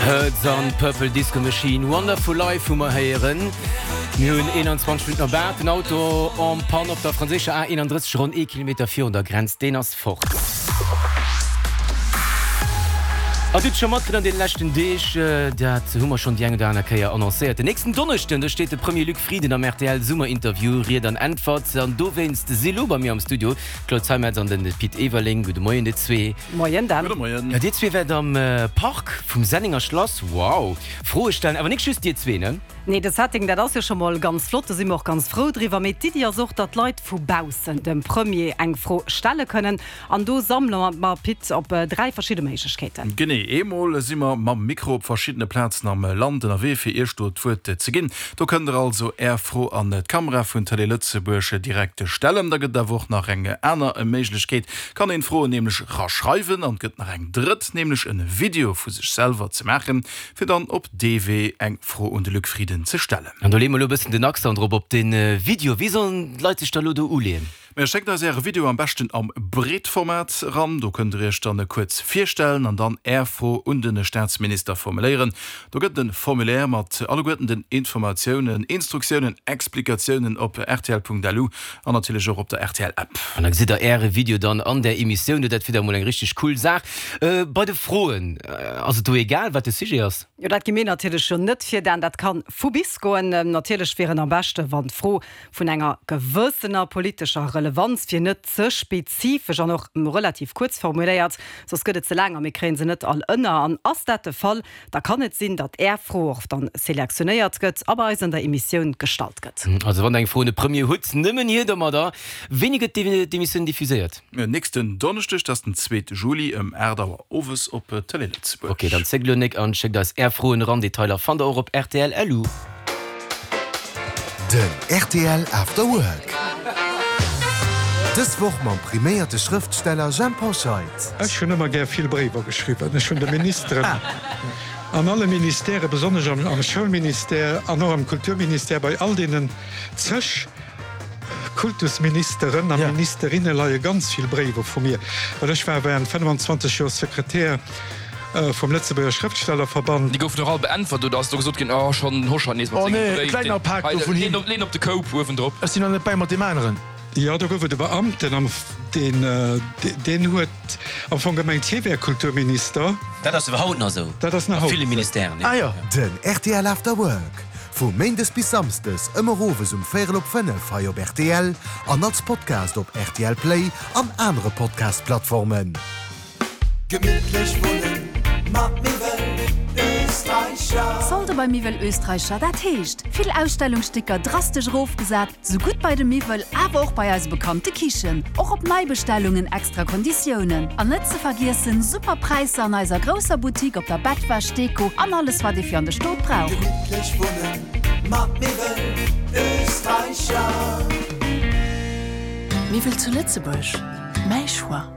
Hurts an Purple Disco Machine, Wonderful Life hu mer héieren. Mir hunn 21 Minutten op 8. Den Auto en panne op der franséischer A31 ronn ee Kilometer virun der Grenz, deen ass fort. A Dir hutt scho matkritt an deene leschten Deeg, dat hu mer schonn déi eng oder aner Kéier annoncéiert, den nächsten Donneschden, do steet de Premier Luc Frieden am rtl Summerinterview Ried an Äntwert. An dowéinst si lo bei mir am Studio d'Claude Zeimetz an de Pit Everling. Gudde Moien, dir zwee. Moien Dan. Gudde Moien. Jo, dir zwee wäert am Park vum Sennenger Schlass, wow, Froe stellen. Awer nik just dir zwee, ne? Nee, de Setting, dat ass jo scho mol ganz flott, do si mer och ganz frou driwwer. Mee d'Iddi ass och, datt d'Leit vu baussen dem Premier eng Fro stelle kënnen. An do sammele mer, Pit, op 3 verschidde Méiglechkeeten. Genee, eemol si mer mam Mikro op verschiddene Plazen am Land ënnerwee, fir Iech do d'Wuert ze ginn. Do kënnt der also Är Fro an d'Kamera vun Télé Lëtzebuerg direkt stellen. Da gëtt et awer och nach eng aner Méiglechkeet, kann een d'Froen nämlech raschreiwen an et gëtt nach eng drëtt, nämlech en Video vu sech selwer ze maachen, fir dann op dee Wee eng Fro un de Luc Frieden ze stellen. An do leeë mer elo e bëssen den Accent drop op de Video. Wéi sollen d'Leit sech da elo do uleeën? Majo, schéckt eis äre Video am beschten am Breetformat eran. Do kënnt der iech dann kuerz virstellen an dann är Fro un de Staatsminister formuléieren. Do gëtt et e Formulaire mat alleguerten den Informatiounen, Instruktiounen, Explikatiounen op rtl.lu an natierlech och op der RTL-App. An da gesitt der äre Video dann an där Emissioun. Dat wier da mol eng richteg cool Saach. Bei de Froen, ass et do egal, wat de Sujet ass? Jo, dat gi mir natierlech jo net vir, Dan. Dat ka vu bis goen. Natierlech wier et am beschte wann d'Fro vun enger gewëssener politescher Relevanz wier, net ze spezifesch an och relativ kuerz formuléiert, soss gëtt et ze laang a mir kréie se net all ënner. An ass dat de Fall, da kann et sinn, datt Är Fro och dann selektionéiert gëtt a bei eis an der Emissioun gestallt gëtt. Also wann Der eng Fro un de Premier hutt, nëmmen hier domadder. Wéini gëtt d'Emissioun diffuséiert? Nächsten Donneschdeg, dat ass den zweete Juli ëm 8 Auer owes op Tëlee Lëtzebuerg. Ok, dann zéckt elo nek an schéckt eis Är Froen eran. Detailer fannt der och op rtl.lu. Den rtl After Work. Dës Woch mam priméierte Schrëftsteller Jhemp Hoscheit. Ech hunn ëmmer gär vill Bréiwer geschriwwen. Ech hunn de Ministeren an alle Ministèrë, besonnesch am Schoulministère an och am Kulturministère, bei all deenen zeg Kultusministeren a Ministerinne leie ganz vill Bréiwer vu mir, well ech war während 25 Joer Sekretär vum Lëtzebuerger Schrëftstellerverband. Déi goufen och all beäntwert, oder ass do gesot ginn, oh schonn den Hoscheit nees mat Oh sengem nee, Bréif, kleiner deen Pak hei, do vun leen him. op, leen op de Koup uewendrop. Ech sinn nach net bäi mat deem aneren. Jo, do gouf et e Beamten, am, deen, deen huet am Fong gemengt, hie wär Kulturminister. Dat ass iwwer haut nach esou, Dat ass nach a haut ville esou. Ministèren, jo. Ah jo. Den rtl After Work, vu Méindes bis Samsdes ëmmer owes um véierel op 5 hei op rtl an als Podcast op rtl Play an anere Podcast-Plattformen. Gemittlech wunnen mat Miwwel Österreicher. Solde bei Miwwel Österreicher, dat heescht vill Ausstellungsstécker drastesch erofgesat, sou gutt bei de Miwwel, awer och bei eise bekannte Kichen. Och op Neibestellungen extra Konditiounen. An net ze vergiessen, super Präisser an eiser grousser Boutique op der Bettwäsch, Deko an alles wat ee fir an de Stot brauch. Gemittlech wunnen mat Miwwel Österreicher. Miwwel zu Lëtzebuerg, mäi Choix.